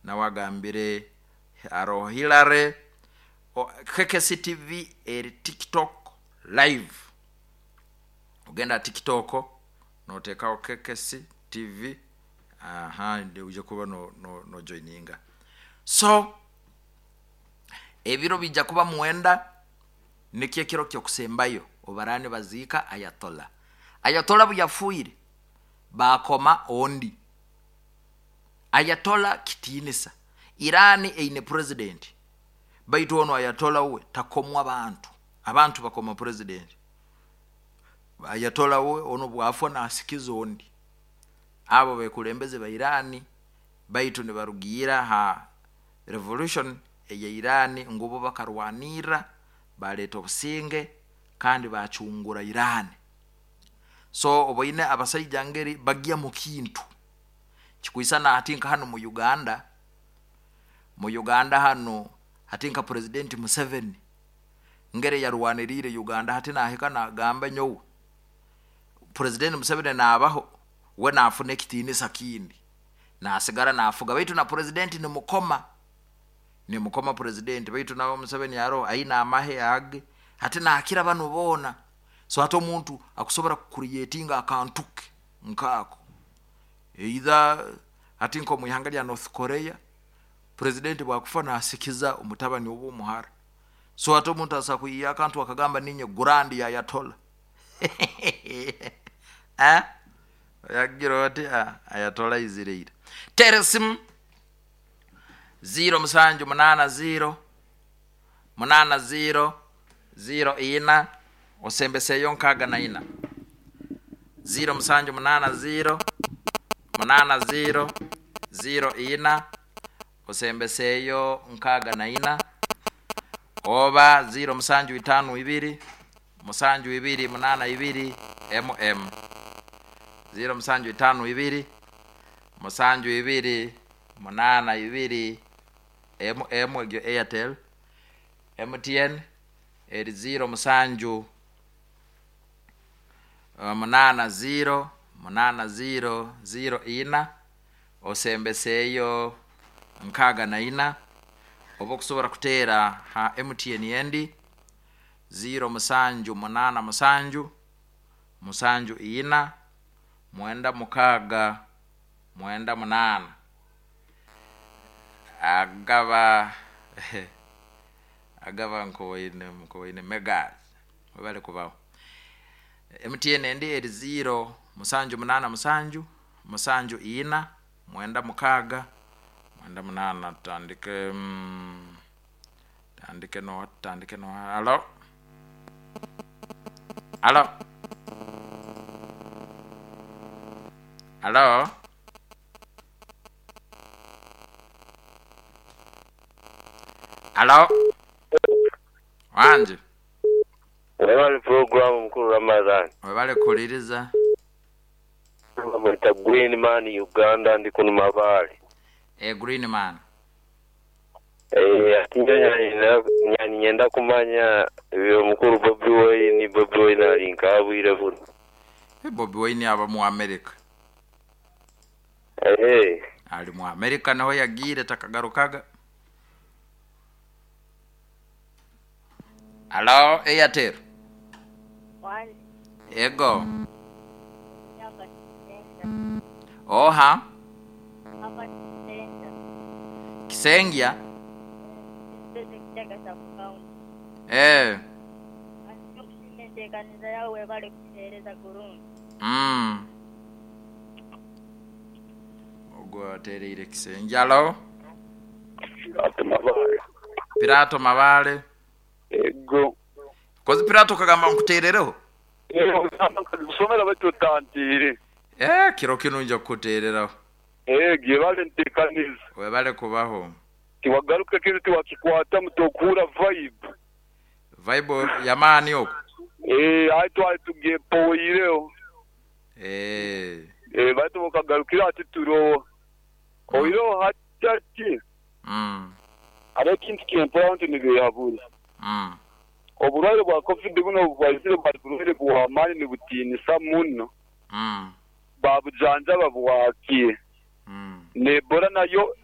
Nawe agambire haroho Hillary. KKC TV eri TikTok live. Ogenda TikTok noteekaho KKC TV, aha uje kuba no, no, no joininga. So ebiro bijja kuba 9, nikyo ekiro kyokusembayo obarani baziika Ayatollah. Ayatollah buyafuire bakoma ondi. Ayatollah kitiinisa. Irani eine president, baitu ono Ayatollah we takomwa bantu, abantu bakoma president. Ayatollah we ono bwafwa nasikiza ondi. Abo bekulembeze ba Irani, baitu nibarugiira ha revolution eya Irani, ngubo bakarwanirra baleta obusinge kandi bacungura Irani. So oboine abasaija ngeri bagya mu kintu kikwisana. Hati nka hano mu Uganda, mu Uganda hano hati nka President Museveni ngere yarwanirire Uganda, hati nahika nagamba nyowe President Museveni nabaho, we nafuna ekitinisa kindi nasigara nafuga, baitu na president nimukoma, nimukoma president, baitu nawe Museveni aro aina amahe age, hati nakira bano bona. So hati omuntu akusobora kucreatinga akantuke nkako, either hati nko muihanga lya North Korea, president bwakufa nasikiza omutabani oba omuhara. So hati omuntu asa kuyiya akantu akagamba ninye grand ya Ayatollah. Eh, yagira oti Ayatollah izireire. Tera esimu 0780 80 04 osembeseyo 64, 0780 80 04 osembeseyo 64, oba 0752 7282 mm, 0752 7282 mm. Egyo Airtel. MTN eri 0 7 8 0 8 0 0 4 osembeseyo 64, oba okusobora kuteera ha MTN endi 0787 74 96 98. Agaba agaba nkowaine nkowaine megas webale kubaho. MTN endi eri 0787 74 96 98. Tutandike tandike no tandike no. Halo, halo, halo, halo, wanje. Webale programu, mukuru Ramadhan. Webale kuliriza. Bamwita Green Man Uganda, ndi kuno Mabaale. E Green Man. Eh, ati njo nyani nyenda kumanya ebyo mukuru Bobi Wine. Bobi Wine ali nkabwire buno? E Bobi Wine aba mu America. Eh. Ali mu America, naho yagiire takagarukaga. Halo, Airtel. Wanje. Ego. Hapa Kisenga. Oha. Hapa Kisenga. Kisengya. Sisi Kitega sub county. Eh. Okushima enteekaniza yawe, bali kutuheereza kurungi. Ogwo atereire Kisengya. Halo. Ate Mabaale. Pirato Mabale. Ego. Kozi Pirato kagamba nkuterereho. Kusomera batutantire. Eh, kiro kino nja kukutereraho. Ego, yebale ntekaniza. Webale kubaho. Tiwagaruka kiro tiwakikwata mutokuura vibe. Vibe yamaani okwo. Eh, ayi twali tugepoyireho. Eh. Eh, baitu mukagarukira ati turoho oireho hati ati hariho ekintu kyempuraho nti nibehabura. Oburwaire bwa COVID buno bwaizire bwali burwaire bw'amaani, nibutiinisa muno. Babujanjaba bwakiire. N'Ebola nayo.